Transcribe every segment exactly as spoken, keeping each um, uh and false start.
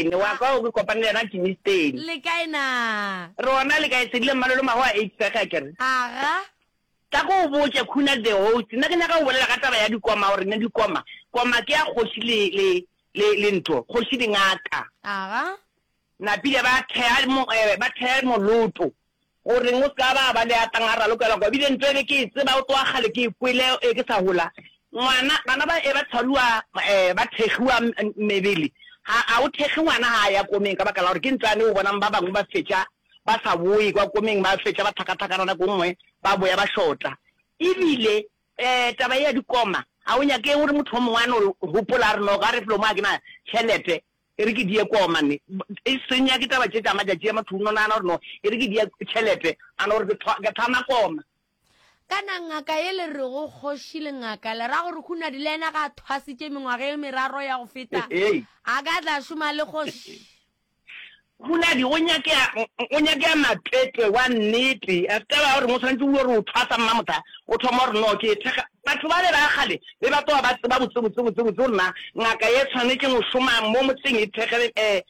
Germiston, wa kwa o ke kopane le yena Germiston. Le kae na? Re gona le kae Sedile Mmalolo Mago a eight sega kere. Aga. Tla ko o botše Khuna the host, nna ke nyaka go bolela ka taba ya dikoma gore ne dikoma, koma ke ya kgoši le le le le ntho, kgoši le ngaka. Aga. Napile ba thea mo eh, ba thea moloto goreng o ska ba ba le a tlang a ralokela kwa bile ntho e be ke e tseba o tloga kgale ke e kwele e ke sa gola ngwana bana ba e ba tshwaruwa eh, ba thekgiwa mebele ga a o thekge ngwana ga a ya komeng ka baka la gore ke ntlo yane o bonang ba bangwe ba fetša ba sa boe kwa komeng ba fetša ba tlhakatlhakana nako nngwe ba boya ba shota ebile um taba ye ya dikoma ga o nyake gore motho o mongwe a no gopola a re no ga re felo mo a ke na tšhelete e re ke die koma ne e senya ke taba tše tša matšatši a motho o no nagana gore no e re ke die tšhelete a no gore ke thama koma. Kana ngaka ye le rego kgoši le ngaka le ra gore Hunadi le yena ga a thwasitše mengwaga e meraro ya go feta a ka tla šoma le kgoši? Hunadi go nyakea go nyakea matwetwe wa nnete a se taba ya gore mo tshwanetse o gore o thwasa mmamotha o thoma gore no ke thekga batho ba le ba kgale be ba tloga ba tseba botse botse botse botse gore na ngaka ye tshwanetse go šoma mo motseng e thekge um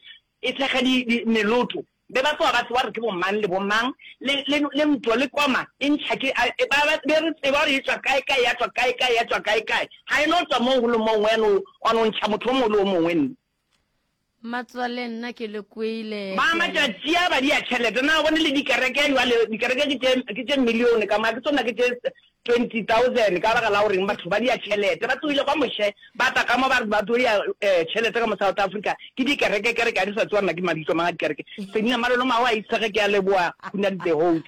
e thekge di, di meloto be ba tloga ba tseba gore ke bomang le bomang le le le ntlo le koma e ntšha ke ba ba be re tseba gore e tswa kae kae ya tswa kae kae ya tswa kae kae ga e no tswa mo go le mongwe ya no wa no ntšha motho o mongwe le o mongwe nne. Mmatswale nna ke le kwele. Ba matšatši a ba dia tšhelete na o bone le dikereke jwale dikereke ke tše ke tše million ka mo ke tsona ke tše twenty thousand ka baka la goreng batho ba dia tšhelete ba tsogile kwa moše ba tla ka mo ba re ba tlo dia tšhelete ka mo South Africa ke dikereke kereke ga di sa tsewa nna ke mabitso mang a dikereke Selina Malolo Mago a isege ke a leboa Khunadi the host.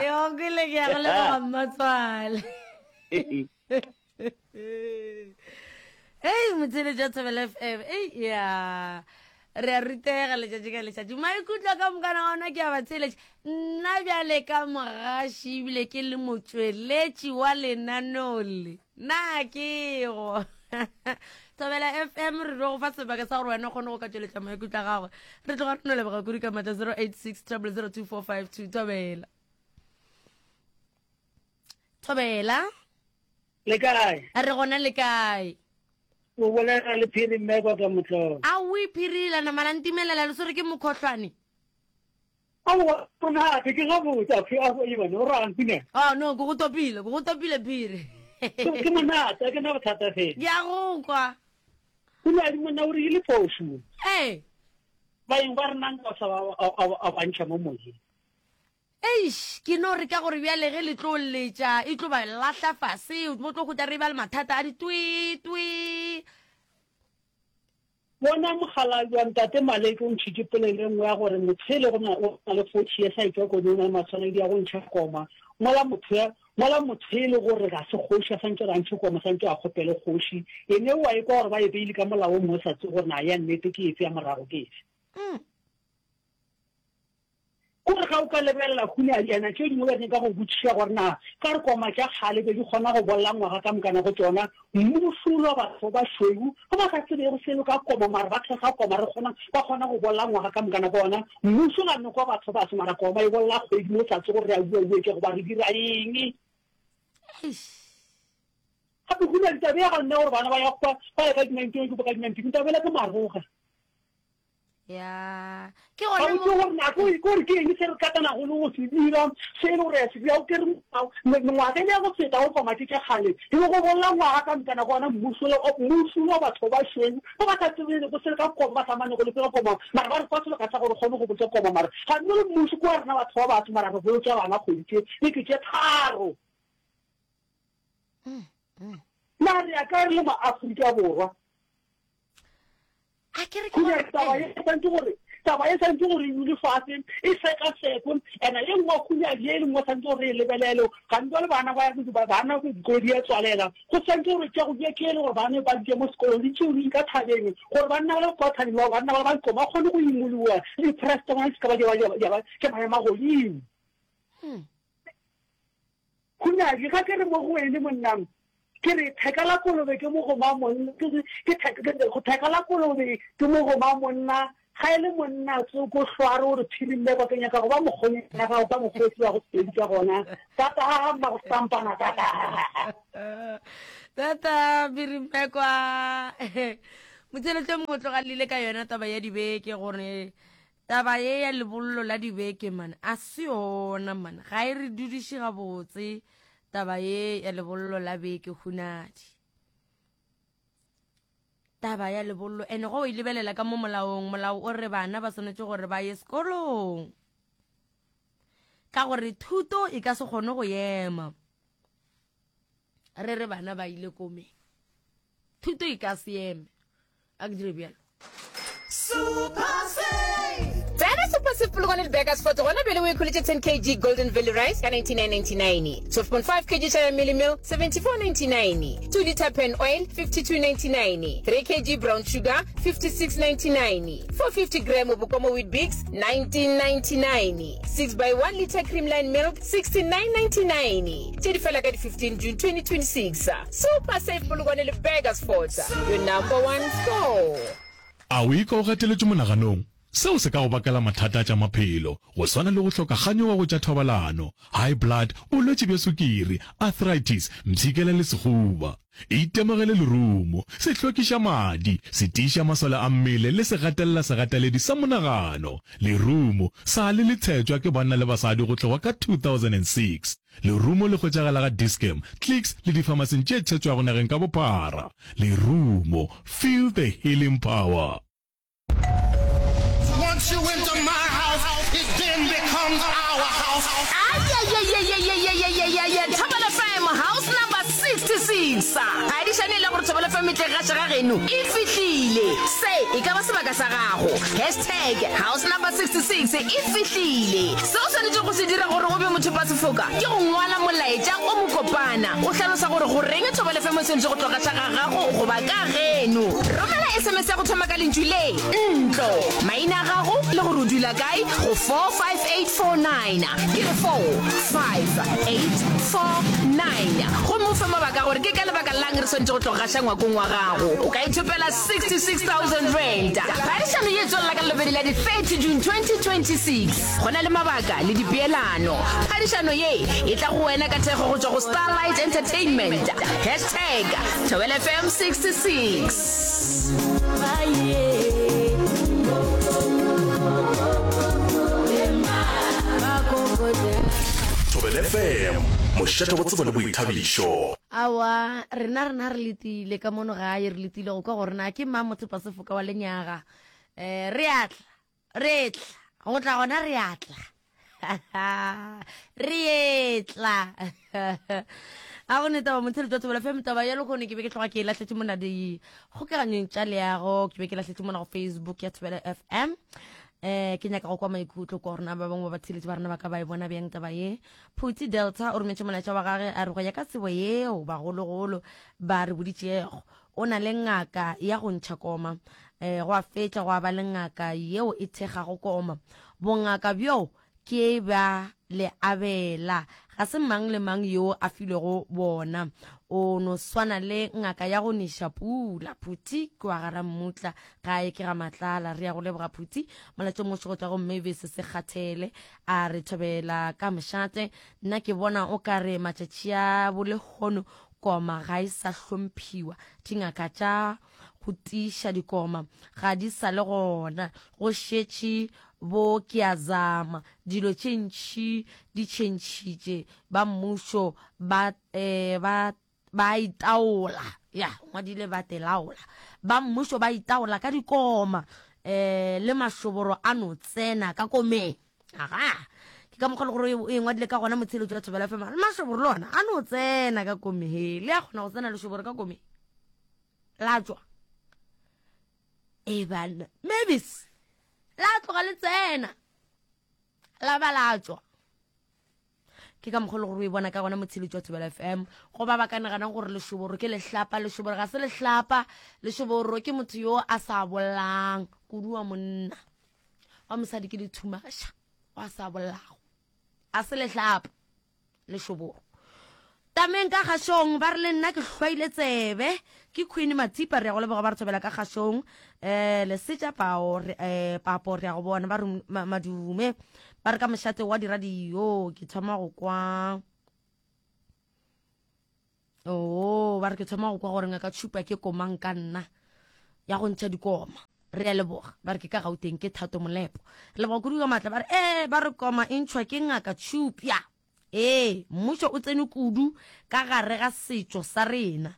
Yo kwele ke ya go leboga mmatswale. Ei motheletši wa Thobela F M ei ya re a rutega letšatši ka letšatši maikutlo ka mokana ona ke a batheletši nna bjale ka mogaši ebile ke le motšweletši wa lenaneo le na ke go Thobela F M re tlo go fa sebaka sa gore wena o kgone go ka tšweletša maikutlo a gagwe re tloga re no leboga kudu ka matla zero eight six triple zero two four five two Thobela Thobela Le kae? Re gona le kae? O bolela le Phiri Mmekwa ka Motlolo. Aowi Phiri la nama la ntimelela le swere ke mokhohlwane. Aowa monate ke gabotse a phi a Ivan o rang pina. Oh no ke go topile ke go topile Phiri. Ke monate a ke na bothata fela. Ke a go kwa. Pina di monna o re ile phoso. Ee. Baeng ba rena nka sa ba a ba ntšha mo moyeng. Eish, ke no re ka gore bjale ge le tlo letša e tlo ba lahla fase, bo tlo hwetša re ba le mathata a ditwii, twii. Bona mokgalabje wa Ntate Maleke o ntšhitše polelo e nngwe ya gore motho e le go na o na le forty years a etšwa komeng o na le maswanedi a go ntšha koma mola motho ya mola motho e le gore ga se kgoši a santše gore a ntšhe koma santše a kgopele kgoši ene o a ekwa gore ba e beile ka molao o mongwe o sa tsebe gore na ya nnete ke efe ya morago ke efe. Mm. Kore ga o ka lebelela Hunadi, tše dingwe ba nyaka go botšiša gore na ka re koma tša kgale be di kgona go bolla ngwaga ka mokana go tšona, mmušo wa batho ba bašweu ba ba sa tsebego selo ka koma mara ba thekga koma re kgona ba kgona go bolla ngwaga ka mokana go ona, mmušo ga nokwa batho baso mara koma e bolla kgwedi mo sa tsebe gore re a uauetša goba re dira eng. Eish. Gape Hunadi taba ya ga nna gore bana ba ya kwa ba ya ka di nineteen ba ka di nineteen taba ela ke maroga. Ya, ke gona mo. Gore nako e gore ke eng se re katanago le go se dira, se e le gore ya se dira, o ke re mengwaga e le ya go feta go koma tše tša kgale, e be go bolla ngwaga ka mokana go ona mmušo mmušo wa batho ba bašweu ba ba sa tsebego se ka koma, ba sa manego le se ka koma, mara ba re fa sebaka sa gore kgone go botša koma, mara ga nne le mmušo ke wa rena batho ba batho, mara re bolotša bana kgwedi tše beke tše tharo. Na re ya kae re le ma-Afrika Borwa? A ke re ke gore taba e santse gore taba e santse gore e dule fase e sekasekwe ena ye nngwe khunyadi ye lengwe santse gore e lebelele gantsi le bana ba ya bana dikolo di ya tswalela go santse gore tša go di ke le gore bana ba di mo sekolong di tšeo di ka thabeng gore banna ba le kwa thabeng ba banna ba ba ba kgone go imoloa le di-press tsa bona di se ka ba di ba ke maemo a godimo. Khunyadi ga ke re mo go wene monnang ke re theka la kolobe ke mogoma monna ke ke theka la kolobe ke mogoma monna ga e le monna tsoko hlware o re phirimile kwa ke nyaka go ba mokgonyana gago ka mokgotsi wa go sepedi ka gona tata mma go stampana tata tata phirimekwa. Motšheletše mongwe tlogalile ka yona taba ya dibeke gore taba ye ya lebollo la dibeke man a se yona man ga e re dudiše gabotse taba ye ya lebollo la beke hunadi taba ya lebollo ene go e lebelela ka mo molaong molao o re bana ba swanetše gore ba ye sekolong ka gore thuto e ka se kgone go ema re re bana ba ile komeng thuto e ka se eme a ke dire bjalo Super Save! Tsena Super Save Polokwane le Burgersfort gona bjale o ikholetše ten kg Golden Valley Rice ka ninety-nine ninety-nine, twelve point five kg Shire Mealie Meal seventy-four ninety-nine, two litre pan oil fifty-two ninety-nine, three kg brown sugar fifty-six ninety-nine, four fifty gram Bokomo Weet-Bix nineteen ninety-nine, six by one litre Creamline milk sixty-nine ninety-nine. Tše di fela ka di fifteen June twenty twenty-six. Super Save Polokwane le Burgersfort, your number one store. A o ikwa o gateletšwe monaganong? Seo se ka go bakela mathata a tša maphelo, go swana le go hloka kganyogo go tša thobalano, high blood, bolwetši bja sukiri, arthritis, mpshikela le sehuba. Itemogele lerumo, se hlwekiša madi, se tiiša masole a mmele le se gatelela segateledi sa monagano. Lerumo sa le le tshetšwa ke banna le basadi go tloga ka two thousand and six. Lerumo le hwetšagala ga Dis-Chem, Clicks le difamasing tše tshetšwago nageng ka bophara. Lerumo, feel the healing power. Once you enter my house, it then becomes our house. Ayayayayayayayayaya Thobela F M house number sixty-six. Ga di šane le gore Thobela F M e tle gaša ga geno e fihlile. Se e ka ba sebaka sa gago. Hashtag house number sixty-six e fihlile. Se o swanetše go se dira gore o be mothopa sefoka ke go ngwala molaetša o mokopana o hlalosa gore go reng Thobela F M e swanetše go tlo gaša ga gago goba ka geno. Romela S M S ya go thoma ka lentšu le ntlo, maina a gago le gore o dula kae go four five eight four nine. Ke re four five eight four nine. Gomme o fe mabaka gore ke ka lebaka lang re swanetše go tlo gaša ngwakong wa gago. O ka ithopela sixty-six thousand rand. Phadišano ye e tswelela ka Lobedi la di thirty June twenty twenty-six. Go na le mabaka le dipeelano. Phadišano ye e tla go wena ka thekgo go tšwa go Starlight Entertainment. Hashtag Thobela F M sixty-six. Thobela F M, mošate wa tsebo le boithabišo. Aowa, rena rena re letile ka mono gae, re letile go kwa gore na ke mang mothopa sefoka wa lenyaga. Eh, re a tla, re tla, go tla gona re a tla. Re etla. A go ne taba motheletši wa Thobela F M, taba ya lekgono ke be ke tloga ke e lahletše mona dikgokaganyong tša leago, ke be ke lahletše mona go Facebook ya Thobela F M. Eh, ke nyaka go kwa maikutlo kwa rona ba bangwe ba batheletši ba rena ba ka ba e bona bjang taba ye. Phuti Delta o rometše molaetša wa gage a re go ya ka tsebo yeo bagologolo ba re boditšego, o na le ngaka ya go ntšha koma, eh, go a fetša go a ba le ngaka yeo e thekgago koma. Bongaka bjo ke ba le abela, ga se mang le mang yo a filwego bona. O no swana le ngaka ya go neša pula. Phuti ke wa gara mmutla gae ke ga Matlala. Re ya go leboga Phuti. Molaetša o mošo go tšwa go Mavis Sekgathele a re thobela ka mošate. Nna ke bona o ka re matšatši a bolehono koma ga e sa hlomphiwa. Dingaka tša go tiiša dikoma ga di sa le gona, go šetše bo ke a zama. Dilo tše ntši di tšhentšhitše, ba mmušo ba, eh, ba, ba itaola. Ya, ngwadile ba telaola. Ba mmušo ba itaola ka dikoma, eh, le mašoboro a no tsena ka komeng. Aga, ke ka mokgwa le gore o e ngwadile ka gona motheletši wa Thobela F M. Mašoboro le ona a no tsena ka komeng. He, le a kgona go tsena lešoboro ka komeng. La tšwa. E bana, Mavis, la tloga le tsena. La ba la tšwa. Ke ka mokgwa le gore o e bona ka gona motheletši wa Thobela F M. Go ba ba ka naganang gore lešoboro ke lehlapa, lešoboro ga se lehlapa, lešoboro ke motho yo a sa bollang, kudu wa monna. Wa mosadi ke lethumaša, wa sa bollago. A se lehlapa, lešoboro. Tameng ka kgašong, ba re le nna ke hlwaile tsebe. Ke Queen Matipa, re ya go leboga ba re thobela ka kgašong. Eh, Lesetša pao, re, eh, papo, re ya go bona, ba re ma-, madume. Ba re ka mošate wa diradio, ke thoma go kwa. Oh, ba re ke thoma go kwa gore ngaka tšhupa ke komang ka nna. ya go ntšha dikoma. Re a leboga. Ba re ke ka Gauteng, ke Thato Molepo. Re leboga kudu ka maatla. Ba re, ee, ba re koma e ntšhwa ke Ngaka Tšhupja. Ee, mmušo o tsene kudu ka gare ga setšo sa rena.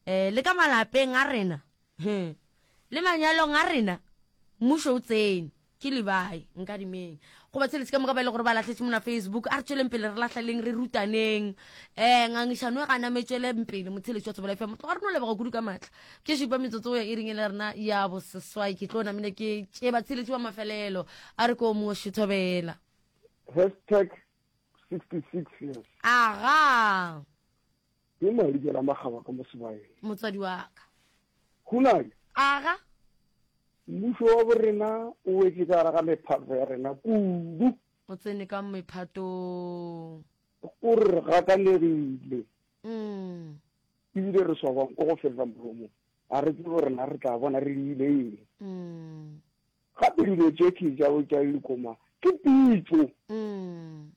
Eh, le ka malapeng a rena, he, le manyalong a rena, mmušo o tsene. Ke Lebai, Nkadimeng. Go batheeletši ka moka ba e le gore ba lahletše mona Facebook, a re tšweleng pele re lahlaleng, re rutaneng. Um ngangišano e gana me tšweleng pele, motheeletši wa Thobela F M. Tloga re no leboga kudu ka maatla. Ke šupa metsotso go ya iring e le rena ya boseswai. Ke tlo namile ke tše batheeletši ba mafelelo. A re ko moši Thobela. Hashtag sixty six years. Aga. Ke Malikela Makgaba ka mo sebaeng. Motswadi wa ka. Hunadi. Aga. Mmušo wa borena o wetše ka gare ga mephato ya rena kudu. O tsene ka mephatong. O re re gakanegile. Mm. Ebile re swabang ko go feta molomong. A re tsebe gore na re tla bona re diile eng. Mm. Gape dilo tše ke tša tša dikoma ke pitšo. Mm.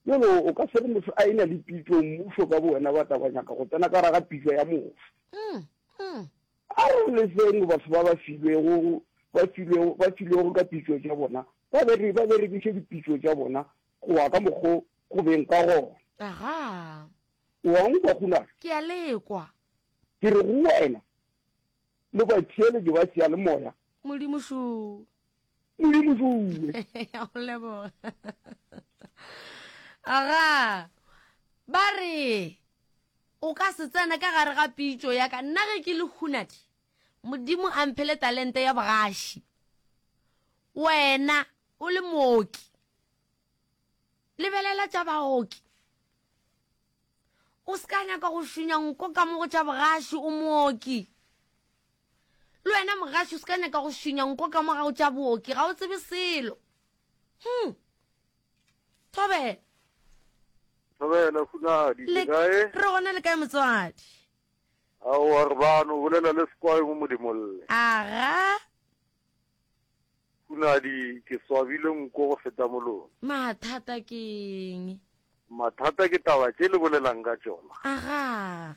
Bjalo o ka se re motho a e-na le pitšo, mmušo ka bowena ba tla ba nyaka go tsena ka gare ga pitšo ya motho. Mm. Mm. A re leseng batho ba ba filwego, ba filwego, ba filwego ka pitšo tša bona, ba bere, ba berekiše dipitšo tša bona go ya ka mokgo go beng ka gona. Aga. O a nkwa, Gunnar? Ke a le kwa. Ke re go wena le batheeletši ba seyalemoya. Modimo šoo. Modimo šoo. Ya go leboga. Aga. Ba re o ka se tsena ka gare ga pitšo ya ka. Nna ge ke le Hunadi, Modimo a mphele talente ya bogaši. Wena o le mooki, lebelela tša baoki. O se ka nyaka go šunya nko ka mo go tša bogaši, o mooki. Le wena mogaši o se ka nyaka go šunya nko ka mo ga go tša booki, ga o tsebe selo. Hmm. Thobela. Thobela, Hunadi, le kae? Re gona, le kae motswadi? Aowa, re bano, bolela le Sekwai mo Modimolle. Aga. Hunadi, ke swabile nko go feta molomo. Mathata ke eng? Mathata ke taba tše le bolelang ka tšona. Aga.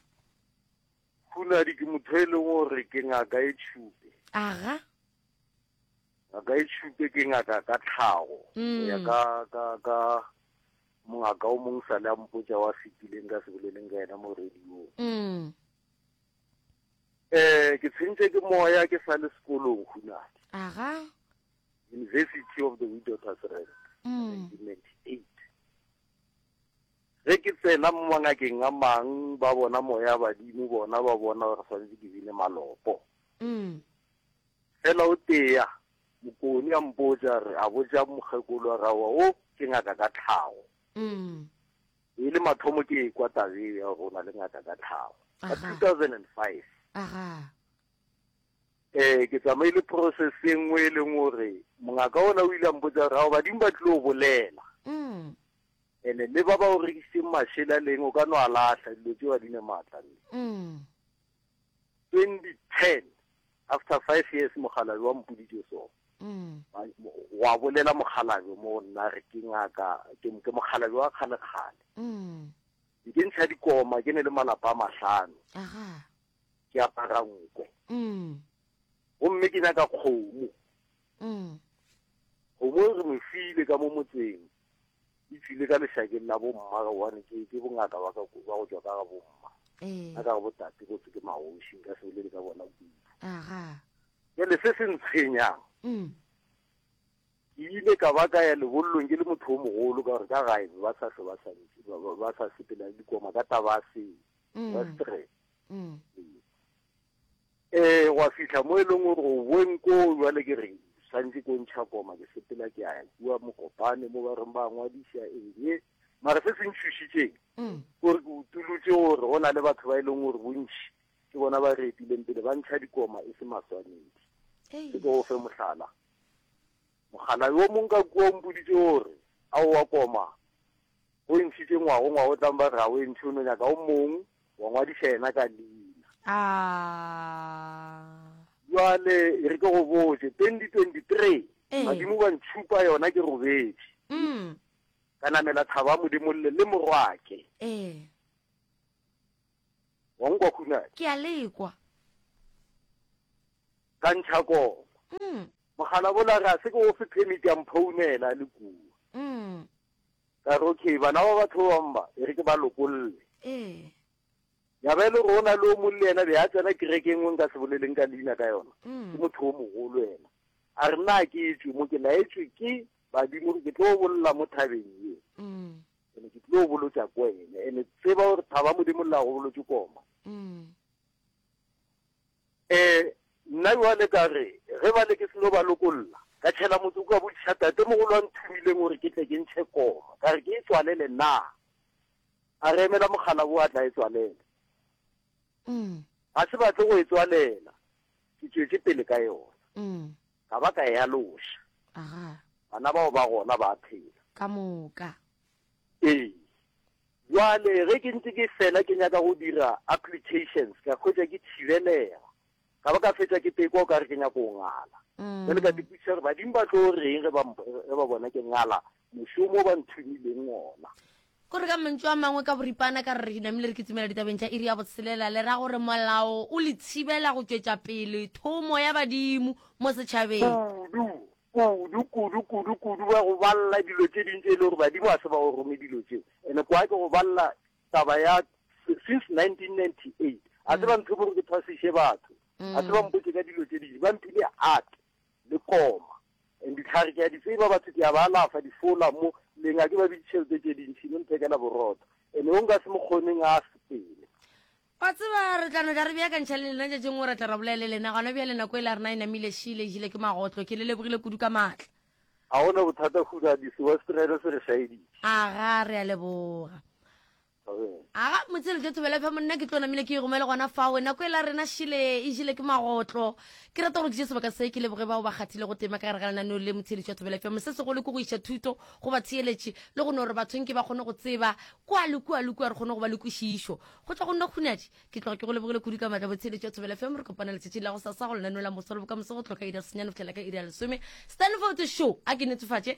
Hunadi, ke motho e leng gore ke ngaka e tšhupe. Aga. Ngaka e tšhupe ke ngaka ka tlhago. Mm. Go ya ka, ka, ka mongaka o mong sa le a mpotša wa fetileng ka se boleleng ka yena mo radiong. Mm. Eh, ke tshwentše ke moya ke sa le sekolong, Hunadi. Aga. University of the Witwatersrand, Mm. nineteen ninety-eight. Ge ke tsena mo mangakeng a mang, ba bona moya badimo, bona ba bona gore swanetše ke bine malopo. Mm. Fela o tea, mokoni a mpotša re, a botša mokgekolo a re, aowa, o ke ngaka ka tlhago. Mm. E le mathomo ke ekwa tabe ya gore o na le ngaka ka tlhago. Ka Aha. two thousand and five. Aha. Eh, ke tsamaile process e nngwe e leng gore mongaka ona o ile a mpotša gore, ao, badimo ba tlilo bolela. Mm. Ene le ba ba o rekisitseng mašela leng, o ka no a lahla, dilo tšeo ga di ne maatla nne. Mm. twenty ten, after five years, mokgalabje wa mpoditše so. Mm. Wa bolela mokgalabje mo nna re ke ngaka, ke, ke mokgalabje wa kgale-kgale. Mm. Ke ntšha dikoma, ke ne le malapa a mahlano. Aha. Ke apara nkwe. Mm. Gomme ke nyaka kgomo. Mm. Kgomo e re mo file ka mo motseng. E tswile ka lešakeng la bomma, gobane ke, ke bongaka ba ka, ba go tšwa ka ga bomma. Eh. Ka ga botate botse ke magoši, nka se bolele ka bona kudu. Aha. Bjale se se ntshwenyang. Mm. Ke ile ka ba ka ya lebollong ke le motho o mogolo, ka gore ka gae ba sa hlwe ba sa ntše, ba, ba, ba sa sepela le dikoma ka taba ya se, Mm. ba stress. Mm. Eh, gwa fihla mo e leng gore o boeng koo, jwale ke re santse ko ntšha koma, ke sepela ke ya kua Mokopane mo ba reng ba ngwadiša eng. Mara se se ntšhošitšeng, Mm. gore ke utolotše gore go na le batho ba e leng gore bontši ke bona ba re etileng pele ba ntšha dikoma e se maswanedi. Ei. Ke go fe mohlala. Mogala yo mong ka kua o mpoditše gore aowa koma o ntšhitše ngwago, ngwago o tlang ba re ga o e ntšhe, o no nyaka o mong wa ngwadiša yena ka leina. Ah. Jwale e re ke go botše, twenty twenty-three, Eh. badimo ba ntšhupa yona ke robetše. Mm. Ka namela thaba Modimolle le morwake. Eh. Wa nkwa Khunadi? Ke a lekwa. Ka ntšha koma. Mm. Mogala bola re a se ke o fe permit ya mphounela le kua. Mm. Ka re okay, bana ba batho ba bangwe ba, e re ke ba lokolle. Ee. Ya ba e le gore o na le o mong le yena be a tsena kereke e nngwe nka se boleleng ka leina ka yona. Mm. Ke motho o mogolo yena. A re nna ke etšwe mo ke laetšwe ke badimo gore ke tlo bolola mo thabeng ye. Mm. Ene ke tlo bolotša ko ene. Ene tseba gore thaba modimo la go bolotše koma. Mm. Eh, nna jwale ka re ge ba le ke seno ba lokolla ka tšhela motsoko ka botšiša tate mogolo a nthomileng gore ke tle ke ntšhe koma ka re ke e tswalele na a re emela mogala bo a tla e tswalela Mm. ga se batle go e tswalela ke tšwetše pele ka yona Mm. ka ba ka e aloša Aga. bana bao ba gona ba phela Ka moka. ee jwale ge ke ntse ke fela ke nyaka go dira applications ka hwetša ke thibelega ka ba ka fetša ke tekwa o ka re ke nyaka go ngala jale ka dipotšiša gore badimo ba tlo reng ge ba mp- ge ba bona ke ngala mošomo o ba nthomileng ona Kore ka mantšu a mangwe ka boripana ka re re namile re kitsimela ditabeng tša iri ya botshelela le ra gore molao o le thibela go tšwetša pele thomo ya badimo mo setšhabeng. Kudu, kudu, kudu, kudu, kudu ba go balla dilo tše dintši e le gore badimo ga se ba go rome dilo tšeo. Ene kwa ke go balla taba ya since nineteen ninety-eight. A se ba nthome gore ke thwasiše batho. A se ba mpotše ka dilo tše dintši. Ba mphile art le koma. And ditlhare ke a di tseba batho ke a ba alafa difola mo leng a ke ba bitše tšhelete tše dintši no nthekela borotho. Ene o nka se mo kgoneng a sepele. Wa tseba re tla no tla re beakantšha le lena tšatšing gore re tla ra bolela le lena gona bjale nako e la rena e namile šile e jile ke magotlo ke le lebogile kudu ka maatla. Ga gona bothata Huda disiwa setirelo se re šaeditše. Aga re a leboga. Aga motsele tlo thobela fa monna ke tlo namile ke e romele gona fao nako e la rena šile e jile ke magotlo. Ke rata gore ke tše sebaka se ke leboge bao ba kgathile go tema ka gare ga lenaneo le motheeletši wa Thobela F M. Se segolo ke go iša thuto go batheeletši le go no gore bathong ke ba kgone go tseba kua le kua le kua re kgone go ba le kwešišo. Go tšwa go nna Khunadi ke tloga ke go lebogile kudu ka maatla motheeletši wa Thobela F M. Re kopana letšatšing la go sasa go lenaneo la moso le bokamoso go tloga ka iri ya senyane go fihlela ka iri ya lesome. Stanford Show a ke netefatše.